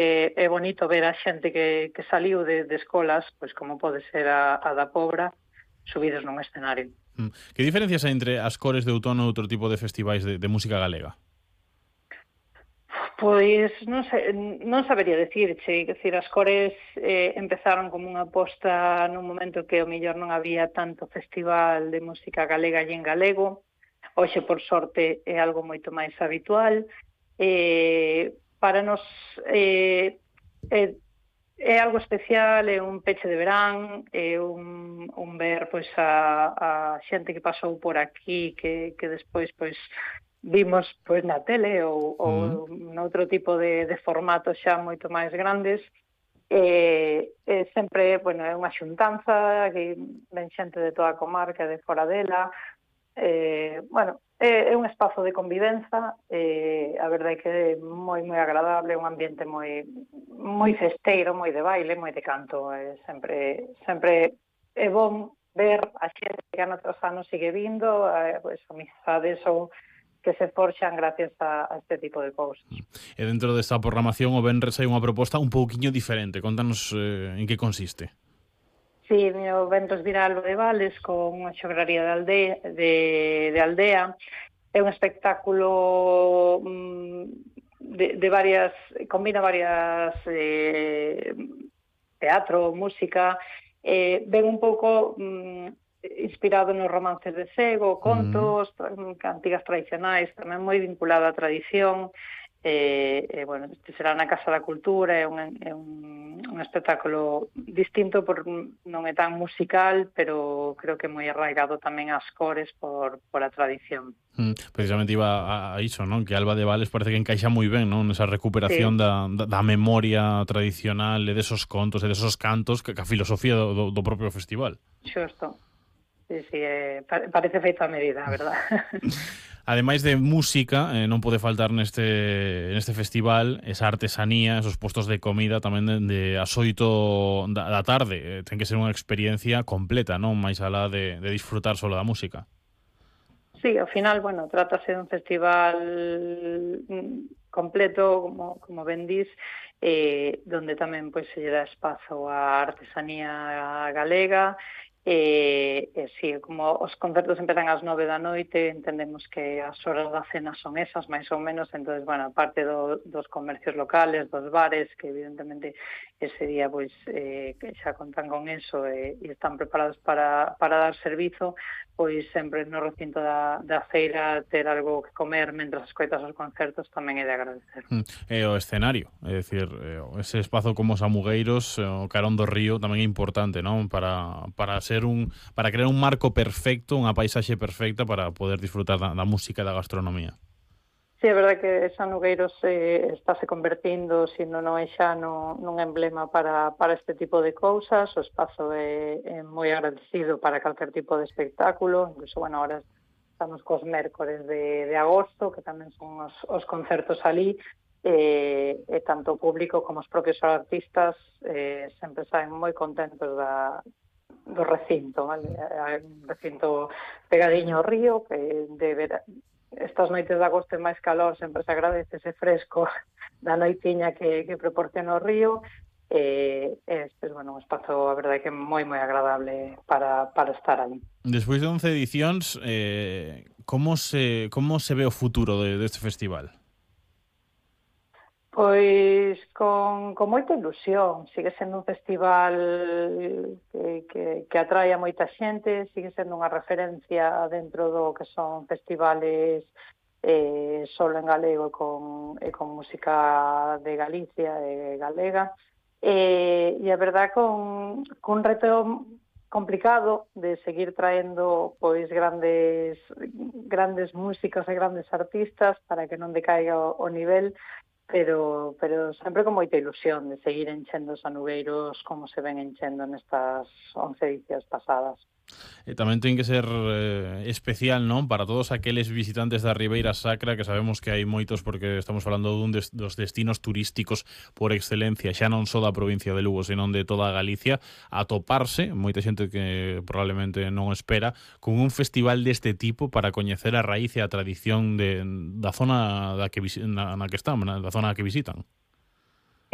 é bonito ver a xente que saliu de escolas, pois como pode ser a da Pobra, subidos nun escenario. Que diferencias hai entre as Cores de Outono e outro tipo de festivais de música galega? Pois non sabería decirche, decir, as Cores empezaron como unha aposta nun momento que o mellor non había tanto festival de música galega e en galego. Hoxe, por sorte, é algo moito máis habitual. Para nos é algo especial, é un peche de verán, é un ver pois a xente que pasou por aquí, que despois pois vimos pois na tele ou noutro tipo de formatos xa moito máis grandes. Sempre, bueno, é unha xuntanza que ven xente de toda a comarca, de fora dela. Bueno, é un espazo de convivenza, a verdade é que é moi agradable, un ambiente moi festeiro, moi de baile, moi de canto, sempre é bon ver a xente que ano tras ano sigue vindo, pois amizades ou que se forxan gracias a este tipo de cousas. E dentro desta programación o venres hai unha proposta un pouquiño diferente. Contanos en que consiste. Sí, o Venres Viral de Vales con unha xograría de aldea. É un espectáculo de varias, combina varias teatro, música, ven un pouco inspirado nos romances de Sego, contos, cantigas tradicionais, tamén moi vinculado á tradición. Bueno, este será na Casa da Cultura, é un espectáculo distinto, non é tan musical, pero creo que moi arraigado tamén ás cores por a tradición. Precisamente iba a iso, non? Que Alba de Vales parece que encaixa moi ben, non? Esa recuperación da memoria tradicional e desos contos e desos cantos que a filosofía do propio festival. Xusto. Sí, parece feito a medida, a verdad. Ademais de música, non pode faltar neste festival esa artesanía, esos postos de comida tamén de as 8 da tarde. Ten que ser unha experiencia completa, non? Máis alá de disfrutar solo da música. Sí, ao final, bueno, trátase de un festival completo, como ben dís, donde tamén pois se lle dá espazo á artesanía galega. Sí, como os concertos empezan ás 9 da noite, entendemos que as horas da cena son esas, máis ou menos, entonces, bueno, aparte dos comercios locales, dos bares, que evidentemente ese día pois que xa contan con eso e están preparados para dar servizo, pois sempre no recinto da feira ter algo que comer mentras escoitas os concertos tamén é de agradecer. E o escenario, é dicir, ese espazo como os Amugueiros, o Carón do Río tamén é importante, non? Para crear un marco perfecto, unha paisaxe perfecta para poder disfrutar da música e da gastronomía. Sí, é verdade que Sanugueiros estáse convertindo, se non é xa nun emblema para este tipo de cousas. O espazo é moi agradecido para calquer tipo de espectáculo. Incluso, bueno, ahora estamos cos mércores de agosto, que tamén son os concertos ali, e tanto o público como os propios artistas sempre saen moi contentos do recinto, vale? Un recinto pegadiño ao río, que estas noites de agosto e máis calor sempre se agradece ese fresco da noitiña que proporciona o río. Bueno, un espazo, a verdade, que é moi agradable para estar ali. Despois de 11 edicións, como se ve o futuro deste festival? Pois con moita ilusión. Sigue sendo un festival que atrae a moita xente, sigue sendo unha referencia dentro do que son festivales solo en galego e con música de Galicia e galega. E a verdad, con reto complicado de seguir traendo pois grandes músicos e grandes artistas para que non decaiga o nivel, pero sempre con moita ilusión de seguir enchendo os Sanugueiros como se ven enchendo nestas 11 edicións pasadas. E tamén ten que ser especial, non? Para todos aqueles visitantes da Ribeira Sacra, que sabemos que hai moitos, porque estamos falando dun dos destinos turísticos por excelencia, xa non só da provincia de Lugo, senón de toda a Galicia, a toparse, moita xente que probablemente non espera, con un festival deste tipo para coñecer a raíz e a tradición da zona na que están, da zona que visitan.